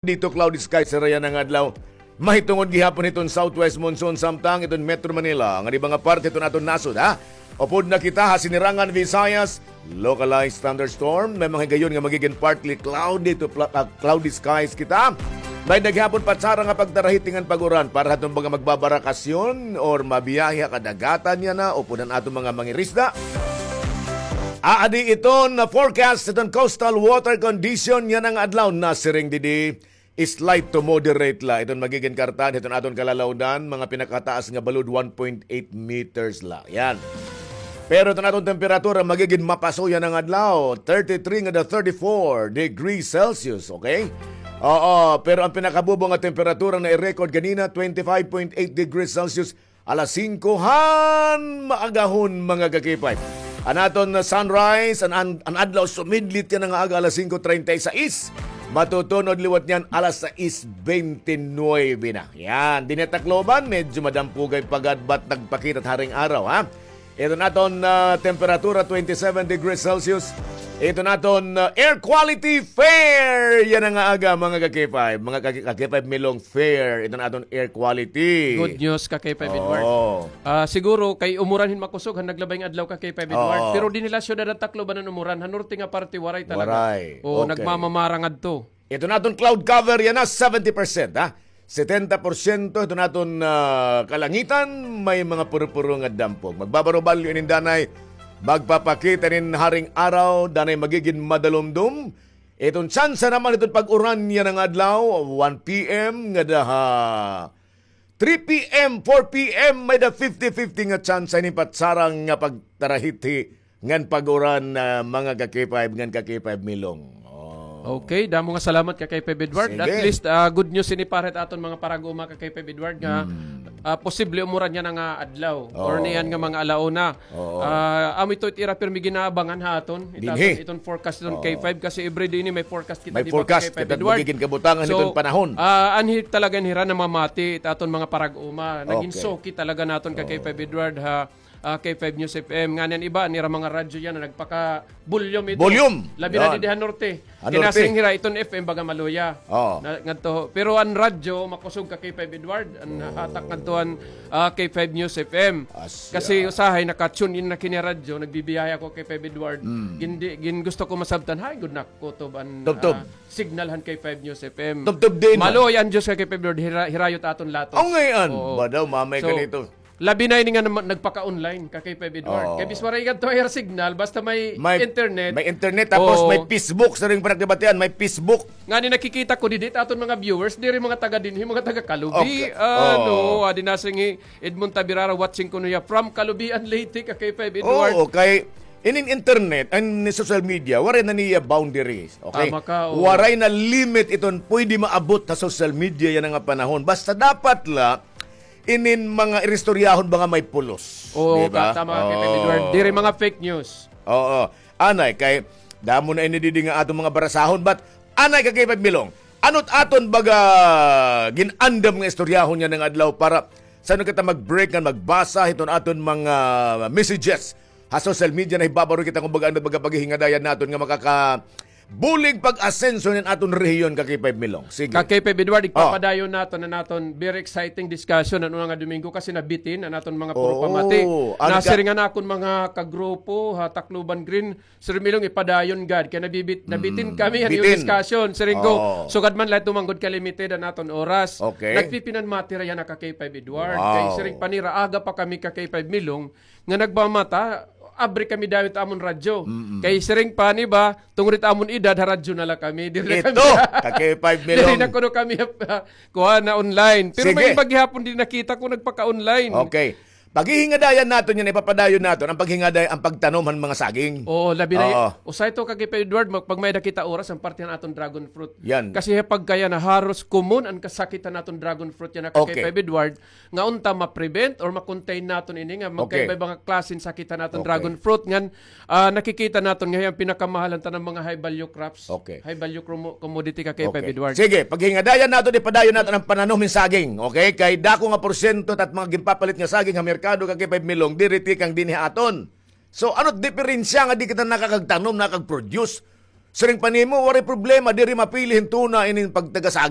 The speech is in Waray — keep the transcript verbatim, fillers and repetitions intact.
Dito cloudy skies hira yana nga adlaw. Mahitungod gihapon hiton southwest monsoon samtang iton Metro Manila, nga iba nga parte hiton aton nasod, ha? Upod na kita ha Sinirangan Visayas, localized thunderstorm. May mga higayon nga magigin partly cloudy to pla-, ah, cloudy skies kita. May-ada gihapon patsara nga pagtarahiti ngan pag-uran para haton mga magbabarakasyon or mabiyahe ha kadagatan yana, upod an aton mga mangirisda. Aadi iton forecast hiton coastal water condition yana nga adlaw, nasiring didi. Slight to moderate la iton magigin kartaan hiton aton kalalawdan, mga pinakataas nga balod one point eight meters la. Yan. Pero iton aton temperatura magigin mapaso yana nga adlaw, thirty-three ngada thirty-four degrees Celsius, okay? Oo, pero an pinakabubo nga temperatura nga i-record ganina, twenty-five point eight degrees Celsius. Alas singko han maagahon, mga ka-K five. An aton sunrise, an, an, an adlaw sumidlit yana nga aga alas singko treinta y seis. Matutunod liwat niyan alas sais bente nuebe na. Yan, dinhi ha Tacloban, medyo madampugay pa gad, but nagpakita it haring araw, ha? Iton aton, ah, temperatura, twenty-seven degrees Celsius. Iton aton, ah, air quality fair yana nga aga, mga ka-K five. Mga ka-, ka-K five Milong, fair iton aton air quality. Good news, ka-K five Edward. Oo. Ah, siguro kay umuran hin makusog han naglabay nga adlaw, ka-K five Edward. Oo. Pero dinhi la syudad han Tacloban an umuran, han norte nga parte waray talaga. Waray. Oo, okay. Nagmamamara ngadto. Iton aton cloud cover yana, seventy percent, ha? Setenta porsyento iton aton, ah, kalangitan, may mga puro-puro nga dampog. Magbabaro-balyo inin danay, magpapakita inin haring araw, danay magigin madalumdom. Iton tsansa naman iton pag-uran yana nga adlaw, one P M ngada ha three P M, four P M, may-ada fifty fifty nga tsansa inin patsara nga pagtarahiti ngan pag-uran, ah, mga ka-K five ngan ka-K five Milong. Oh. Okay, damo nga salamat, ka-K five Edward. Sige. At least, ah, good news ini para ha aton mga parag-uma, ka-K five Edward, nga, ah, posible umuran yana nga adlaw or niyan nga mga alauna. Oo. Ah, amo ito it ira pirmi ginaabangan ha aton. Dinhi. Iton forecast iton K five kasi everyday ini may forecast kita, di ba, ka-K five Edward? May forecast kita, magigin kabutangan iton panahon. So, ah, anhi talaga hira namamati it aton mga parag-uma. Nagin suki talaga naton, ka-K five Edward, ha, ah, K five News F M. Ngan an iba, an ira mga radyo yana, nagpaka-volume ito. Volume. Labi na didi ha norte. Ha norte. Kinasiring hira iton F M baga maluya. Oo. Na, ngadto. Pero an radyo, makusog, ka-K five Edward. An hatak ngadto an, ah, K five News F M. Asya. Kasi usahay, naka-tune in na kini radyo, nagbibiyahe ako, ka-K five Edward. Mm. Gindi-, gin gusto ko masabtan, hay, good na kutob an, ah, signal han K five News F M. Tubtob din. Maluoy an Diyos, ka-K five Edward, hira-, hirayo it aton latos. Aw, ngay-an. Oo. Ba daw, mamay ka nito. Labi na ini nga nam-, nagpaka-online, ka-K five Edward. Oo. Kay bisan waray ngadto air signal, basta may internet. May internet, tapos may Facebook, siring pa nakdibatian, may Facebook. Ngani nakikita ko didi, it aton mga viewers, diri mga taga dinhi, mga taga Calubi. Okay. Ano, adi na si Edmond Tabirara, watching kuno hiya from Calubian, Leyte, ka-K five Edward. Oo, kay inin internet, an social media, waray na niya boundaries, okay? Tama ka, oo. Waray na limit iton pwede maabot ha social media yana nga panahon. Basta dapat la, inin mga iristoryahon ba nga may pulos. Oo, di ba? Tama ka, ka-K five Edward. Diri mga fake news. Oo. Anay, kay damo na ini didi nga aton mga barasahon. But, anay, ka-K five Milong, ano it aton baga gin-andam nga istoryahon yana nga adlaw para san-o kita mag-break ngan magbasa hiton aton mga messages ha social media, nahibabaw kita kon baga ano baga paghihingadayan naton nga makaka- bulig pag-asenso nin aton rehiyon, ka-K five Milong. Sige. Ka-K five Edward, igpapadayon naton an aton very exciting discussion an una nga Domingo kasi nabitin an aton mga puro pamati. Nasiring an akon mga kagrupo ha Tacloban Green, Sir Milong, ipadayon gad kay nabibit-, nabitin kami han iyo discussion. Siring ko, sugad man la ito man gud ka-limited an aton oras. Okay. Nagpipinanmati ra yana, ka-K five Edward. Wow. Kay siring pa nira, aga pa kami, ka-K five Milong, nga nagmamata, abri kami dayon it amon radyo. Mm-mm. Kay siring pa an iba, tungod it amon edad, ha radyo na la kami. Diri na kami. Ito, ka-K five Milong. Diri na kuno kami, ah, kuan na online. Pero may iba gihapon diri nakita ko nagpaka-online. Okay. Paghihingadayan naton yana, ipapadayon naton an paghingaday-, an pagtanom han mga saging. Oo, labi na. Oo. Usahay ito, ka-K five Edward, mag-, pag may-ada kita oras, an parte han aton dragon fruit. Yan. Kasi ha pagkayana, haros common an kasakit han aton dragon fruit yana, ka-K five Edward. Nga unta ma-prevent or ma-contain naton ini nga magkaiba-iba nga klase hin sakit han aton dragon fruit ngan, ah, nakikita naton nga hiya an pinakamahal han tanan mga high value crops. Okay. High value commo-, commodity, ka-K five Edward. Sige, paghingadayan naton, ipadayon naton an pananom hin saging. Okay? Kay dako nga porsyento it aton mga ginpapalit nga saging ha merkado, ka-K five Milong, diri tikang dinhi ha aton. So, ano it diperensya nga di kita nakakagtanom, nakakag-produce? Siring pa nimo, waray problema, diri mapili hin tuna inin pagtagasagi.